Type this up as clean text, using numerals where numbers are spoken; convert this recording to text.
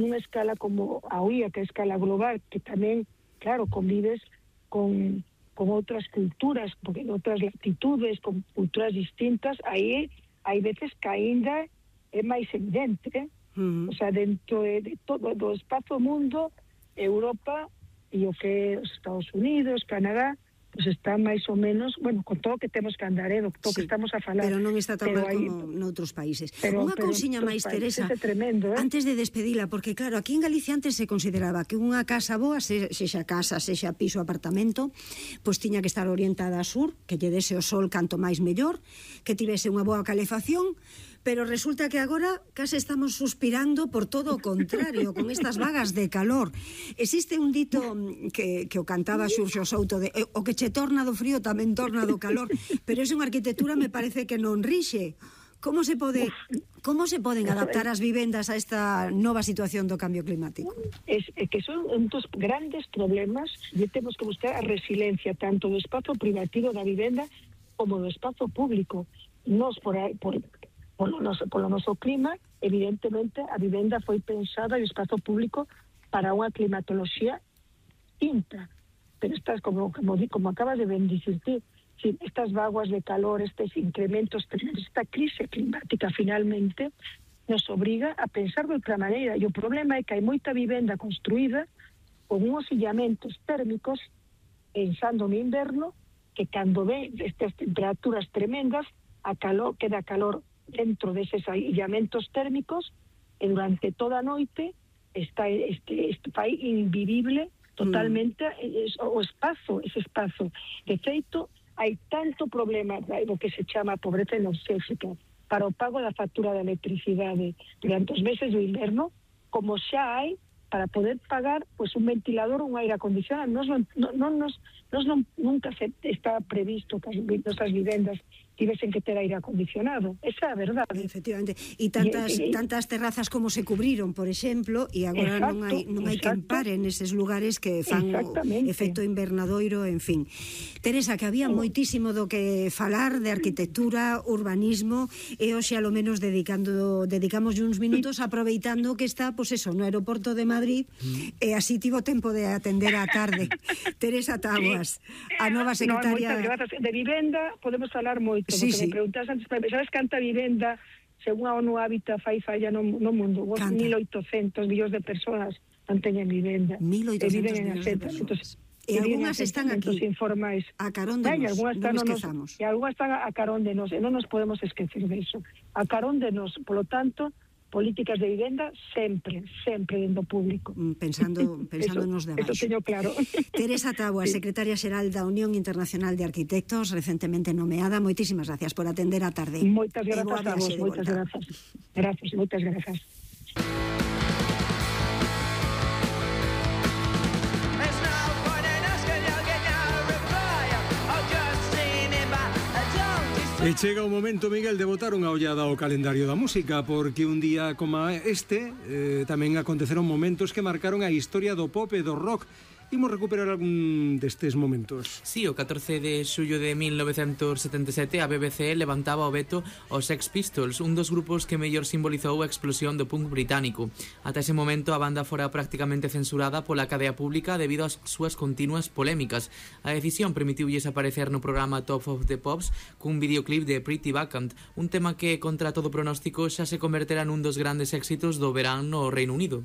nunha escala como a UIA, que é a escala global, que tamén, claro, convives con outras culturas, porque en outras latitudes, con culturas distintas, aí hai veces que aínda é máis evidente, o sea, dentro de todo do espazo mundo, Europa e o que é os Estados Unidos, Canadá, pues está máis ou menos, bueno, con todo que temos que andar, do todo que estamos a falar. Pero non está tan mal como noutros países. Unha cousiña máis, Teresa, tremendo, antes de despedila, porque claro, aquí en Galicia antes se consideraba que unha casa boa, sexa casa, sexa piso, apartamento, pois tiña que estar orientada a sur, que lle dese o sol canto máis mellor, que tivese unha boa calefacción, pero resulta que agora case estamos suspirando por todo o contrario, con estas vagas de calor. Existe un dito que o cantaba Xurxo Souto, de o que che torna do frío tamén torna do calor, pero é unha arquitectura me parece que non rixe. Como se poden adaptar as vivendas a esta nova situación do cambio climático? É que son un dos grandes problemas e temos que buscar a resiliencia tanto do espazo privativo da vivenda como do espazo público. Nos polo noso clima, evidentemente a vivenda foi pensada e o espazo público para unha climatoloxía distinta, pero estas, como acabas de dicir ti, estas vaguas de calor, estes incrementos, esta crise climática finalmente nos obriga a pensar de outra maneira, e o problema é que hai moita vivenda construída con uns illamentos térmicos pensando no inverno, que cando ve estas temperaturas tremendas queda calor dentro deses illamentos térmicos e durante toda a noite está fai invivible totalmente ese espazo. De feito, hai tanto problema do que se chama pobreza enerxética para o pago da factura da electricidade durante os meses do inverno, como xa hai para poder pagar pues un ventilador ou un aire acondicionado. Nunca se está previsto que as nosas vivendas tivesen que ter aire acondicionado. Esa é a verdade. Efectivamente. E tantas terrazas como se cubriron, por exemplo, e agora non hai quen pare neses lugares que fan o efecto invernadoiro, en fin. Teresa, que había moitísimo do que falar de arquitectura, urbanismo, e hoxe a lo menos dedicamos uns minutos aproveitando que está, pois eso, no aeroporto de Madrid, e así tivo tempo de atender á tarde. Teresa Taboas, a nova secretaria... De vivenda podemos falar moito. Porque me preguntas antes, sabes canta vivenda según a ONU Habitat fai falla no mundo? 1.800 millóns de persoas non teñen vivenda. 1.800 millóns de persoas. E algunhas están aquí, informais. A carón de nos, non esquezamos. E algunhas están a carón de nos, e non nos podemos esquecer de iso. A carón de nos, polo tanto, políticas de vivenda sempre dentro público. Pensando nos de abaixo. Eso teño claro. Teresa Taboas, secretaria xeral da Unión Internacional de Arquitectos, recentemente nomeada. Moitísimas gracias por atender a tarde. Moitas grazas a vos, moitas grazas. Gracias, moitas grazas. E chega o momento, Miguel, de botar unha ollada ao calendario da música, porque un día como este tamén aconteceron momentos que marcaron a historia do pop e do rock. Imos recuperar algún destes momentos. Sí, o 14 de xullo de 1977 a BBC levantaba o veto aos Sex Pistols, un dos grupos que mellor simbolizou a explosión do punk británico. Ata ese momento a banda fora prácticamente censurada pola cadea pública debido ás súas continuas polémicas. A decisión permitiulles aparecer no programa Top of the Pops cun videoclip de Pretty Vacant, un tema que, contra todo pronóstico, xa se converterá nun dos grandes éxitos do verán no Reino Unido.